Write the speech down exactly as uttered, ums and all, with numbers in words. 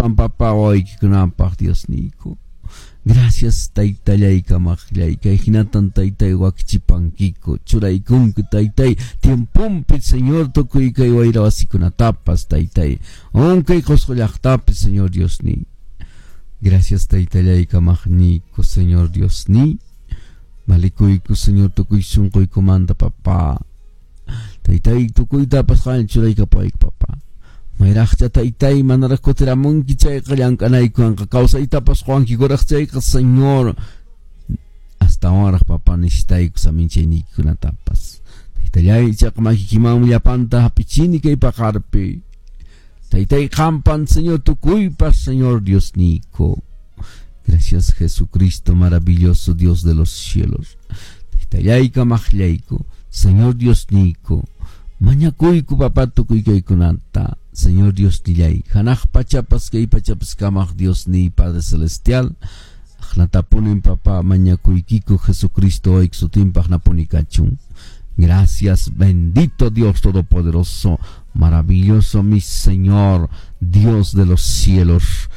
Llapan papa wawaykikunapaq Diosniyku. Gracias taytallay kamaqllay kay hinatan taytay wakichipankiku churaykunki taytay tiempompi Señor tukuy kay wayra wasikunatapas taytay unkay Qusqu llaqtapi Señor Diosniy. Gracias taytallay kamaqniyku Señor Diosniy. Malikuyku Señor tukuy sunquykumanta papá. Taytay tukuytapas qan churaykapayku papá. Mayraqcha taytay manaraq kutiramunki chayqa llank'anaykuwanqa kawsaytapas quwankikuraq chayqa Señor astawanraq papá necesitayku saminchayniykikunatapas. Taytallay ichaqa makikimanmi llapanta hap'ichini kay paqarpi. Taytay qampan Señor tukuypas Señor Diosniyku. Gracias Jesucristo maravilloso Dios de los cielos. Taytallay kamaqllayku Señor Diosniyku. Mañakuyku papá tukuy kaykunata. Señor Dios nillay, hanaq pachapas kay pachapas kamaq Dios ni Padre Celestial. Aqnatapunin papá mañakuykiku Jesucristo wawayki sutinpaq napuni kachun. Gracias, bendito Dios Todopoderoso, maravilloso mi Señor, Dios de los cielos.